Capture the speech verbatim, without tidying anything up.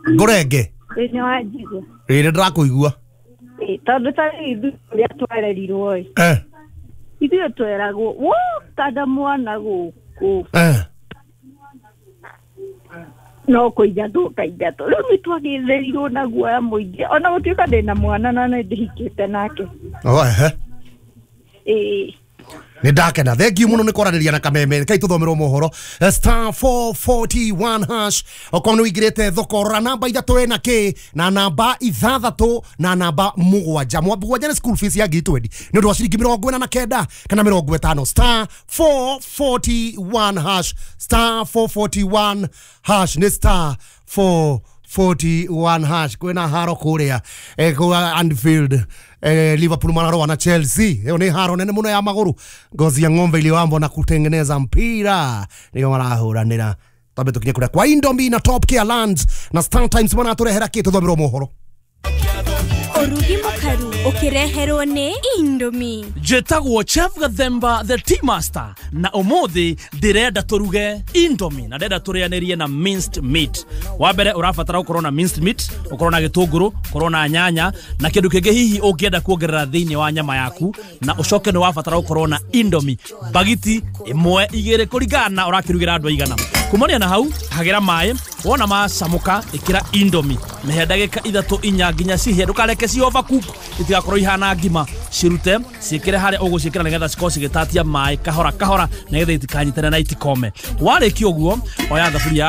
Ngũrenge. Thĩinĩ wa njigua. Ĩĩ, nĩ ndĩrakũigua. Ĩ, tondũ ta rĩu ithuĩ ũrĩa twarerirwo ĩ, Eh. ithuĩ tweragwo wokanda mwana gũkũ Eh. no kũingatwo ũkaingatwo. Rĩu nĩ twagĩtherirwo na guoya mũingĩ, ona gũtuĩka ndĩna mwana na nĩ ndĩhikĩte nake. Oh, ehe. Ĩ. Nĩ ndakena, thengiũ mũno nĩ kwaranĩria na Kameme. Kai tũthomerwo mohoro. Eh, star four forty-one hash. Okorwo nĩ ũingĩrĩte thoko, rora namba ithatũ ĩna kĩ na namba ithathatũ na namba mũgwanja. Mũgwanja nĩ school fees ya ngiri twendi nĩ ũndũ wa ciringi mĩrongo ĩna na kenda kana mĩrongo ĩtano. Star four forty-one hash, star four forty-one hash, nĩ star four forty-one hash. Kwĩna haro kũrĩa eh, kũrĩa Anfield, eh, Liverpool mararũa na Chelsea. Ĩyo nĩ haro nene mũno ya magũrũ. Ngozi ya ng'ombe iliyowambwa na kutengeneza mpira nĩyo marahũranĩra. Twambe tũkinye kũrĩa kwa Indomie na Top Care Lands na Star Times maratũrehera kĩ? Tũthomerwo mohoro. Ũrugi mũkaru ũkĩreherwo nĩ Indomie. Njĩtagwo Chef Gathemba, the tea master, na ũmũthĩ ndĩrenda tũruge Indomie na ndĩrenda tũrĩanĩrie na minced meat. Wa mbere, ũrabatara gũkorwo na minced meat, ũkorwo na gĩtũngũrũ, ũkorwo na nyanya na kĩndũ kĩngĩ hihi ũngĩenda kuongerera thĩinĩ wa nyama yaku, na ũcoke nĩ wabatara gũkorwo na Indomie bagiti ĩmwe, igĩrĩ, kũringana na ũrakĩrugĩra andũ aigana. Kumania na hau, hagĩra maĩ, wona macamũka ĩkĩra Indomie, mĩhe ndagĩka ithatũ, inya nginya cihĩe. Ndũkareke ci overcook, itigakorwo ihana ngima. Cirute, ciĩkĩre harĩa ũgũciĩkĩra nĩgetha cikorwo cigĩtatia maĩ kahora kahora, nĩgetha itikanyitane na itikome. Warĩkia ũguo, oya thaburia.